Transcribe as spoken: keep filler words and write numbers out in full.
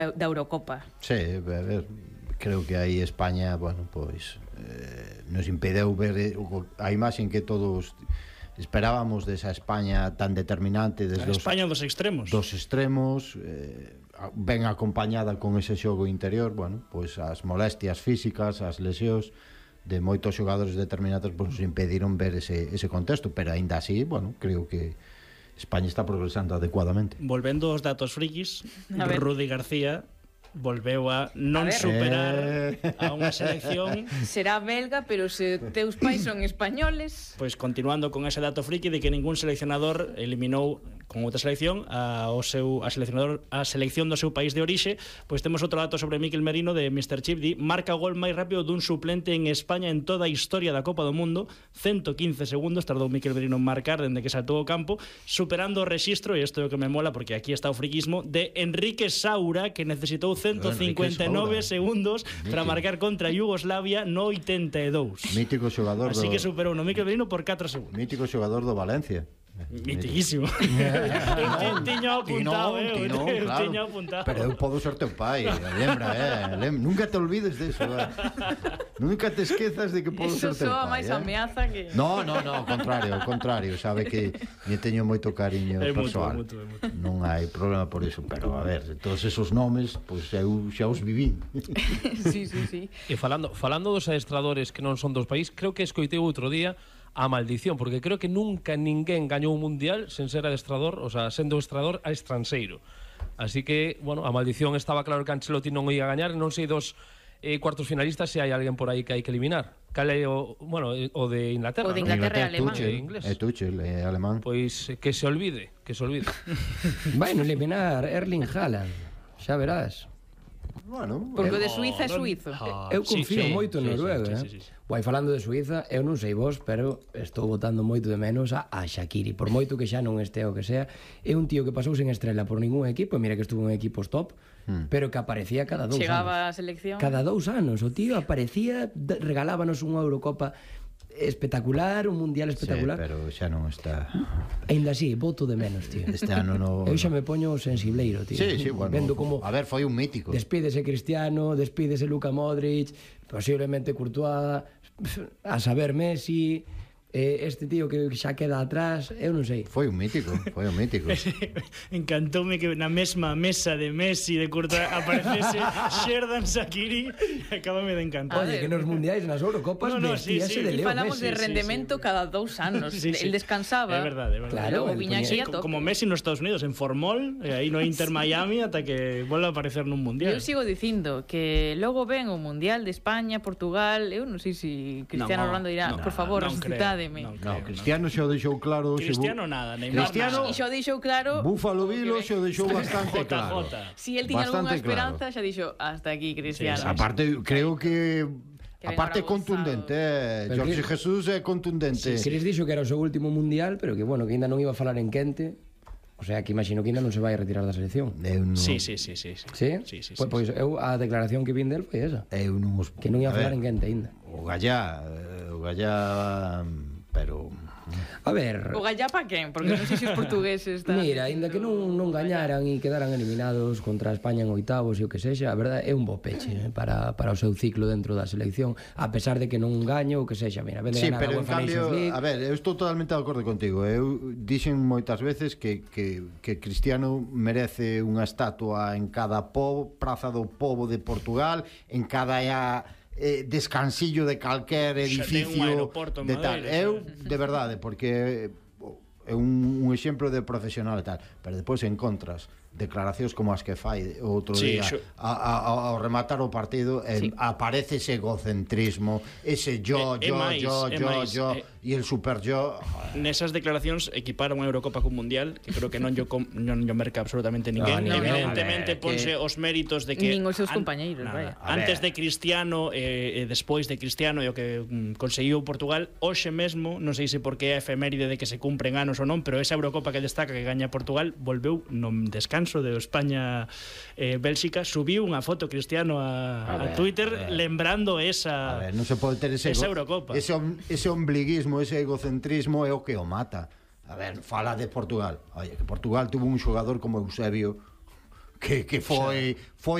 da Eurocopa. Sí, a ver, creo que aí España, bueno, pois eh, nos impedeu ver a imaxe que todos esperábamos desa España tan determinante desde a España dos extremos dos extremos eh, ben acompañada con ese xogo interior, bueno, pois as molestias físicas, as lesións de moitos xogadores determinados pois impediron ver ese, ese contexto, pero aínda así, bueno, creo que España está progresando adecuadamente. Volvendo aos datos frikis, Rudi García volveu a non a superar eh. a unha selección. Será belga, pero se teus pais son españoles. Pois continuando con ese dato friki de que ningún seleccionador eliminou con outra selección a, o seu, a, seleccionador, a selección do seu país de orixe. Pois temos outro dato sobre Mikel Merino de mister Chip, di, marca o gol máis rápido dun suplente en España en toda a historia da Copa do Mundo. ciento quince segundos tardou Mikel Merino en marcar dende que saltou o campo, superando o rexistro, e isto é o que me mola porque aquí está o friquismo, de Enrique Saura, que necesitou ciento cincuenta e nove segundos para marcar contra Yugoslavia no oitenta e dous. Mítico xogador. Así do... que superou no Mikel Merino por catro segundos. Mítico xogador do Valencia. Mitiquísimo. Eu tiño apuntado, eh, eu tiño apuntado. Pero eu podo ser teu pai, lembra, eh, lembra. Nunca te olvides de eso, eh. Nunca te esquezas de que podo ser teu pai. Eso soa máis ameaza que... No, no, no, ao contrario, ao contrario, sabe que me teño moito cariño é persoal. Mutuo, é mutuo, é mutuo. Non hai problema por iso, pero a ver, todos esos nomes, pois pues, eu xa os viví. Sí, sí, sí. E falando, falando dos adestradores que non son dos país, creo que escoitei outro día a maldición, porque creo que nunca ninguén gañou un mundial sen ser adestrador, o sea, sendo adestrador a estranxeiro. Así que, bueno, a maldición estaba claro que Ancelotti non ia gañar, non sei dos eh, cuartos finalistas se hai alguén por aí que hai que eliminar. Cal é o, bueno, o de Inglaterra, o de Inglaterra, ¿no? Inglaterra é alemán. É Tuchel, é alemán. Pois que se olvide, que se olvide. Vai non eliminar Erling Haaland, xa verás. Bueno, porque o de Suiza é suizo. Eu confío sí, moito en Noruega, sí, sí, sí, sí, sí. Vai falando de Suiza, eu non sei vos, pero estou botando moito de menos a, a Shaqiri. Por moito que xa non este o que sea, é un tío que pasou sen estrela por ningún equipo, mira que estuvo en equipos top, hmm. pero que aparecía cada dous Chegaba anos. Chegaba a selección. Cada dous anos, o tío aparecía, regalábanos unha Eurocopa espectacular, un mundial espectacular. Sí, pero xa non está. Ainda así, voto de menos, tío. Este ano no. Eu xa me poño sensibleiro, tío. Sí, sí, bueno. Vendo como a ver, foi un mítico. Despídese Cristiano, despídese Luka Modric, posiblemente Courtois, a saber Messi, eh, este tío que xa queda atrás, eu non sei. Foi un mítico, foi un mítico. Encantoume que na mesma mesa de Messi de Courtois aparecese Xherdan Shaqiri, acabame de encantar. Oye, que nos mundiais, nas Eurocopas, no, no, vestíase sí, sí. de Leo Falamos Messi. de rendemento sí, sí. cada dous anos. Sí, sí. El descansaba. É verdade, é verdade. Claro, o viña aquí a tope. Como Messi nos Estados Unidos, en Formol, e aí no Inter Miami, ata que volve a aparecer nun mundial. Eu sigo dicindo que logo ven o mundial de España, Portugal, eu non sei se Cristiano no, Ronaldo dirá, no, por favor, no, resucitádeme. No, no, Cristiano xa o deixou claro. Cristiano nada, Neymar Cristiano, e xa o deixou claro. Búfalo Vilo xa o deixou bastante claro. Si el tiña algunha esperanza, xa dixo, hasta aquí, Cristiano. Sí, aparte, creo que a parte contundente, eh, Jorge Jesús é contundente. Sí, Cris dixo que era o seu último mundial, pero que bueno, que ainda non iba a falar en quente. O sea, que imagino que ainda non se vai a retirar da selección. Eu non... Sí, sí, sí, sí. Sí? Sí, sí, sí, pois, pois eu a declaración que vin del foi esa. Eu non os... Que non ia a falar en quente ainda. O Gallá, o Gallá, pero... A ver... O Gallá pa quen? Porque non sei se os portugueses están... Mira, ainda que non, non gañaran e quedaran eliminados contra España en oitavos e o que sexa, a verdade é un bo peche eh, para, para o seu ciclo dentro da selección, a pesar de que non gaño o que sexa. Mira, vende sí, ganar pero a en cambio, League. a ver, eu estou totalmente de acordo contigo. Eu dixen moitas veces que, que, que Cristiano merece unha estatua en cada po, praza do pobo de Portugal, en cada... A, Eh, descansillo de calquer edificio de tal. Eu, de verdade, porque é un, un exemplo de profesional e tal, pero depois encontras declaracións como as que fai outro sí, día xo... a, a, ao rematar o partido sí. eh, aparece ese egocentrismo, ese yo, eh, yo, máis, yo, eh, yo, máis, yo eh, e el super yo. Nesas declaracións equiparon a Eurocopa cun mundial, que creo que non yo, com, non yo merca absolutamente ninguén. No, evidentemente ver, ponse que... os méritos de que nin os seus an... compañeiros, nada, vaya. Antes de Cristiano e eh, despois de Cristiano e o que mm, conseguiu Portugal, hoxe mesmo, non sei se porque é efeméride de que se cumpren anos ou non, pero esa Eurocopa que destaca que gaña Portugal volveu no descanso de España eh, Bélxica, subiu unha foto Cristiano a, a, ver, a Twitter a lembrando esa a ver, non se pode ter ese, esa Eurocopa. Ese, ese ombliguismo, ese egocentrismo é o que o mata. A ver, fala de Portugal. Oye, que Portugal tuvo un xogador como Eusebio que, que foi, foi